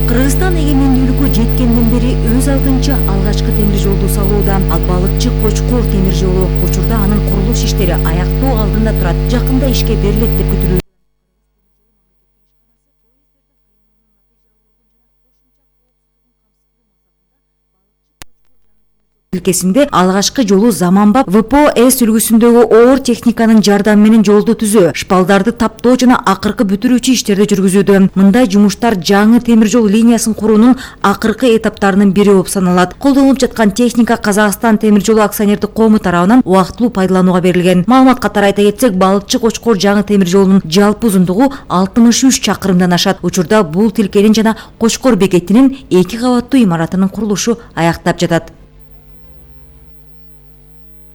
Кыргызстан эгемендүүлүккө жеткенден бери өз алдынча алгачкы темир жолду салууда. Ал балыкчы Кочкор темир жолу. Учурда анын курулуш иштери аяктоо алдында турат. Жакында ишке берилет деп күтүлүүдө. Өлкесинде алгачкы жолу заманбап ВПО-С үлгүсүндөгү оор техниканын жардамы менен жолду түзүү, шпалдарды таптоо жана акыркы бүтүрүүчү иштерди жүргүзүүдө. Мындай жумуштар жаңы темир жол линиясын куруунун акыркы этаптарынын бири болуп саналат. Колдонулуп жаткан техника Казакстан темир жолу акционердик коому тарабынан убактылуу пайдаланууга берилген. Маалымат катары айта кетсек, балыкчы Кочкор жаңы темир жолунун жалпы узундугу 63 чакырымдан ашат. Учурда бул тилкенин жана Кочкор бекетинин 2 кабаттуу имаратынын курулушу аяктап жатат.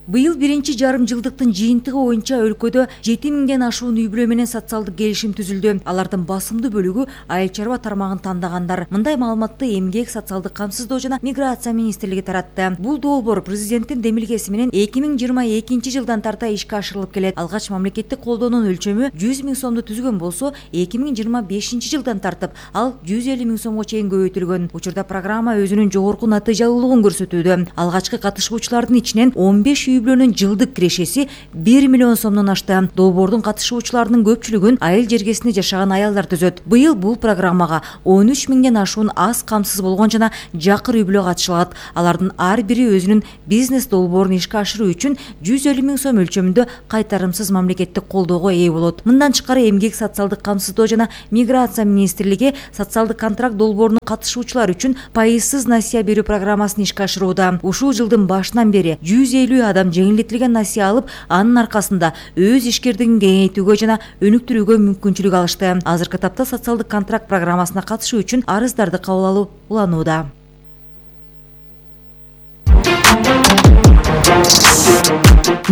Быйыл биринчи жарым жылдыктын жыйынтыгы боюнча өлкөдө 7000ден ашуун үй-бүлө менен социалдык келишим түзүлдү. Алардын басымдуу бөлүгү айыл чарба тармагын тандагандар. Мындай маалыматты Эмгек, социалдык камсыздоо жана миграция министрлиги таратты. Бул долбоор президенттин демилгеси менен 2022 жылдан тарта ишке ашырылып келет. Алгач мамлекеттик колдоонун өлчөмү 100 000 сомду түзгөн болсо, 2025 жылдан тартып ал 150 000 сомго чейин көбөйтүлгөн. Учурда программа өзүнүн жогорку натыйжалуулугун көрсөтүүдө. Алгачкы катышуучулардын ичинен 15 үй-бүлөнүн жылдык кирешеси 1 миллион сомдон ашты. Долбоордун катышуучуларынын көпчүлүгүн айыл жергесинде жашаган аялдар түзөт. Быйыл бул программага 13 000ден ашуун аз камсыз болгон жана жакыр үй-бүлө катышылат. Алардын ар бири өзүнүн бизнес долбоорун ишке ашыруу үчүн 150 000 сом өлчөмүндө кайтарымсыз мамлекеттик колдоого ээ болот. Мындан тышкары Эмгек, социалдык камсыздоо жана миграция министрлиги социалдык контракт долбооруна катышуучулар үчүн пайызсыз насыя берүү программасын ишке ашырууда. Ушул жылдын башынан бери 150 адам жеңилдетилген насыя алып, анын аркасында өз ишкердигин кеңейтүүгө жана өнүктүрүүгө мүмкүнчүлүк алышты. Азыркы тапта социалдык контракт программасына катышуу үчүн арыздарды кабыл алуу уланууда.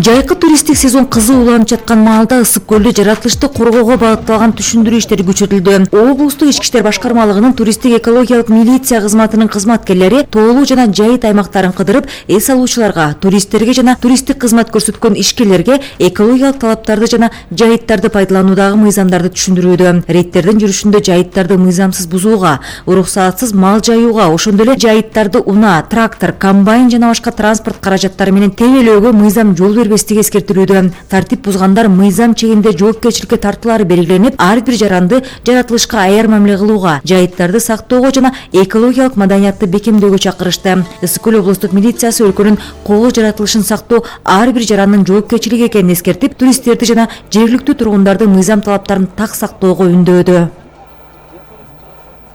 Жайкы туристтик сезон кызуу уланып жаткан маалда Ысык көлдө жаратылышты коргоого багытталган түшүндүрүү иштери күчөтүлдү. Облустук ички иштер башкармалыгынын туристтик экологиялык милиция кызматынын кызматкерлери тоолуу жана жайыт аймактарын кыдырып, эс алуучуларга, туристтерге жана туристтик кызмат көрсөткөн ишкерлерге экологиялык талаптарды жана жайыттарды пайдалануудагы мыйзамдарды түшүндүрүүдө. Рейдтердин жүрүшүндө жайыттарды мыйзамсыз бузууга, уруксаатсыз мал жайууга, ошондой эле жайыттарды унаа, трактор, комбайн жана башка транспорт каражаттары менен тебелөөгө мыйзам жол бербестиги эскертилүүдө. Тартип бузгандар мыйзам чегинде жоопкерчиликке тартуулары белгиленип, ар бир жаранды жаратылышка аяр мамиле кылууга, жайыттарды сактоого жана экологиялык маданиятты бекемдөөгө чакырышты. Ысык көл облустук милициясы өлкөнүн коло жаратылышын сактоо ар бир жарандын жоопкерчилиги экенин эскертип, туристтерди жана жергиликтүү тургундарды мыйзам талаптарын так сактоого үндөдү.